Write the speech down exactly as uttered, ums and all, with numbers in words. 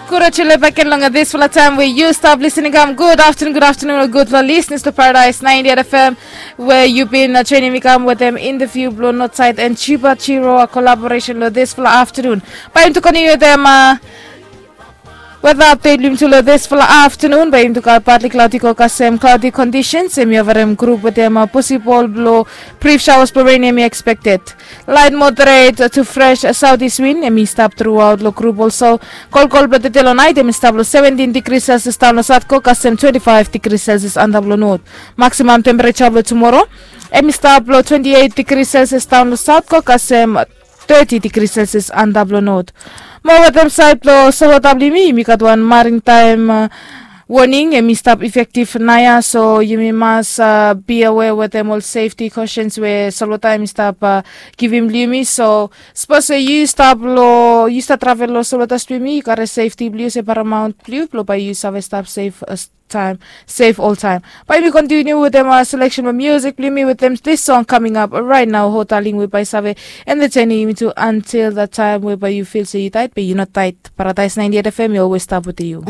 Gud ol chule baken long disfala taem we yu stap lisin i kam. Gud aftenun, gud aftenun ol gudfala lisnis long Paradise ninety-eight F M, we yu bin joinim mi kam wetem interviu blong Northside and Chiba Chiroa kolaboresen long disfala aftenun. Bae yumi tu kontiniu wetem weda apdet blong yumi tu long disfala aftenun. Bae yumi tu gat partly cloudy go kasem cloudy conditions. Em i avarim grup wetem posibol blong brif shawas blong ren em i ekspekted. Light moderate to fresh southeast wind em i stap truaot long grup olso. Kolkol blong tete long nait em i stap long seventin digri selsias daon long saut go kasem twenti faef digri selsias antap long not. Maksimam tempereja blong tumoro em i stap long twenti eit digri selsias daon long saut go kasem teti digri selsias antap long not. Mo wetem saed blong solwota blong yumi, yumi gat wan marintaem woning em i stap efektif naoia, so yumi mas bia we wetem ol sefti kosens we solwota em i stap givim blong yumi. So sapos we yu stap long yu stap travel long solwota blong yumi, yu karim sefti blong yu se paramaon blong yu blong bae yu save stap sef taem, sef oltaem. Bae yumi kontiniu wetem seleksen blong musik blong yumi wetem dis song kaming ap raet nao, Hotaling, we bae save entetenim yumi tu antil dat taem we bae yu fil se yu daed be yu no daed. Paradise ninety-eight F M i olwes stap wetem yu.